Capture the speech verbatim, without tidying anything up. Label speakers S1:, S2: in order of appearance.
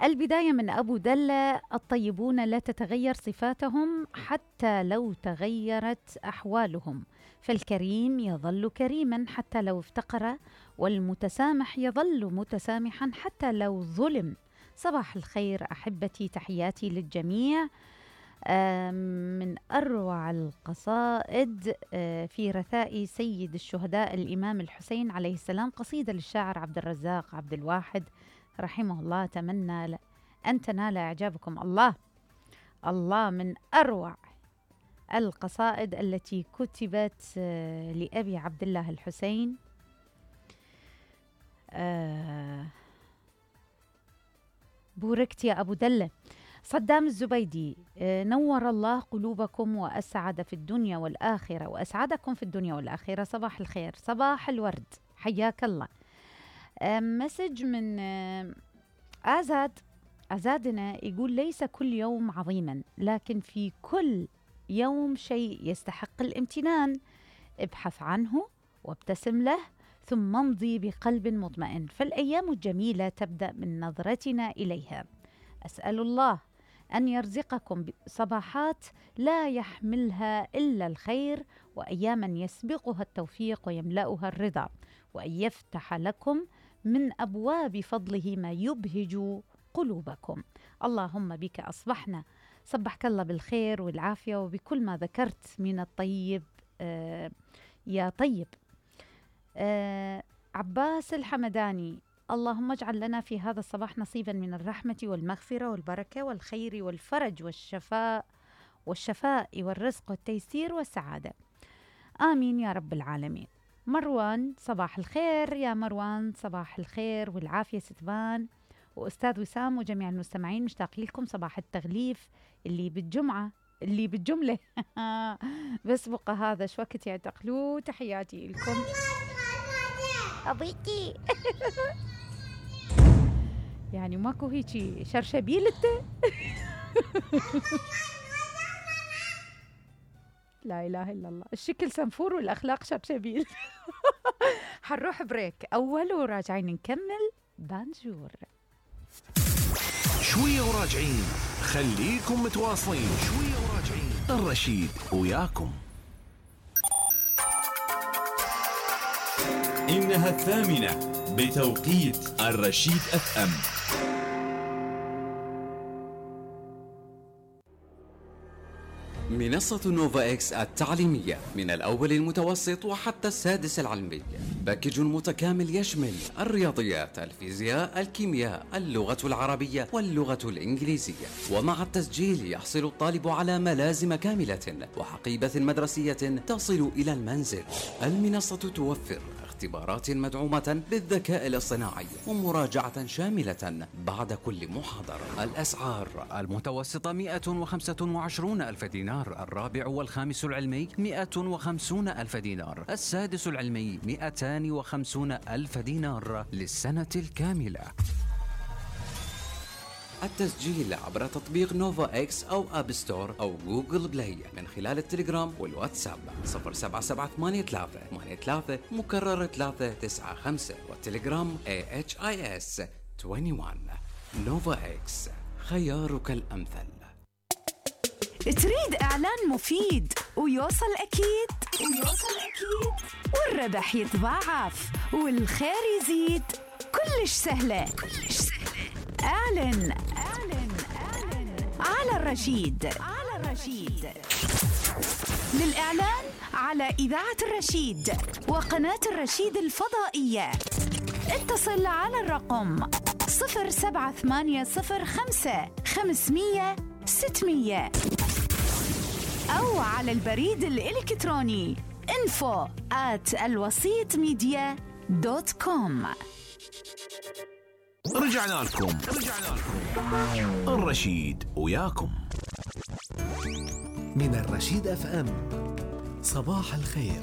S1: البداية من أبو دلة: الطيبون لا تتغير صفاتهم حتى لو تغيرت أحوالهم، فالكريم يظل كريما حتى لو افتقر، والمتسامح يظل متسامحا حتى لو ظلم. صباح الخير أحبتي، تحياتي للجميع. من أروع القصائد في رثاء سيد الشهداء الإمام الحسين عليه السلام، قصيدة للشاعر عبد الرزاق عبد الواحد رحمه الله. أتمنى أن تنال إعجابكم. الله الله، من أروع القصائد التي كتبت لأبي عبد الله الحسين. بوركت يا أبو دلة. صدام الزبيدي: نور الله قلوبكم وأسعد في الدنيا والآخرة، وأسعدكم في الدنيا والآخرة. صباح الخير، صباح الورد، حياك الله. مسج من آزاد أزادنا، يقول: ليس كل يوم عظيما، لكن في كل يوم شيء يستحق الامتنان. ابحث عنه وابتسم له، ثم امضي بقلب مطمئن، فالأيام الجميلة تبدأ من نظرتنا إليها. أسأل الله أن يرزقكم صباحات لا يحملها إلا الخير، وأياما يسبقها التوفيق ويملأها الرضا، وأن يفتح لكم من أبواب فضله ما يبهج قلوبكم. اللهم بك أصبحنا، صبحك الله بالخير والعافية وبكل ما ذكرت من الطيب. آه يا طيب. آه عباس الحمداني: اللهم اجعل لنا في هذا الصباح نصيبا من الرحمة والمغفرة والبركة والخير والفرج والشفاء والشفاء والرزق والتيسير والسعادة، آمين يا رب العالمين. مروان: صباح الخير يا مروان، صباح الخير والعافية ستبان. وأستاذ وسام وجميع المستمعين مشتاقين لكم. صباح التغليف اللي بالجمعة اللي بالجملة بس بقى هذا شو وقت يعتقلوا. تحياتي لكم أبيتي. يعني ماكو هيجي شرشبيل انت؟ لا إله إلا الله، الشكل سنفور والأخلاق شرشبيل. حنروح بريك أول وراجعين نكمل بانجور.
S2: شوية وراجعين، خليكم متواصلين. شوية وراجعين، الرشيد وياكم.
S3: إنها الثامنة بتوقيت الرشيد أف أم. منصة نوفا إكس التعليمية من الأول المتوسط وحتى السادس العلمي، باكج متكامل يشمل الرياضيات، الفيزياء، الكيمياء، اللغة العربية واللغة الإنجليزية. ومع التسجيل يحصل الطالب على ملازم كاملة وحقيبة مدرسية تصل إلى المنزل. المنصة توفر اختبارات مدعومة بالذكاء الاصطناعي ومراجعة شاملة بعد كل محاضرة. الأسعار: المتوسطة مئة وخمسة وعشرون ألف دينار، الرابع والخامس العلمي مئة وخمسون ألف دينار، السادس العلمي مئتان وخمسون ألف دينار للسنة الكاملة. التسجيل عبر تطبيق نوفا إكس أو أب ستور أو جوجل بلاي من خلال التليجرام والواتساب صفر سبعة سبعة ثمانية ثلاثة ثمانية ثلاثة مكرر ثلاثة تسعة خمسة، والتليجرام إيه إتش آي إس واحد وعشرين. نوفا إكس، خيارك الأمثل.
S4: تريد إعلان مفيد ويوصل أكيد ويوصل أكيد والربح يتضاعف والخير يزيد؟ كلش سهلة كلش سهلة. اعلن اعلن اعلن على الرشيد على الرشيد. للإعلان على إذاعة الرشيد وقناة الرشيد الفضائية اتصل على الرقم صفر سبعة ثمانية صفر خمسة خمسمية ستمية أو على البريد الإلكتروني info at الوسيط ميديا دوت كوم.
S2: رجعنا لكم رجعنا لكم الرشيد وياكم
S5: من الرشيد أف أم. صباح الخير.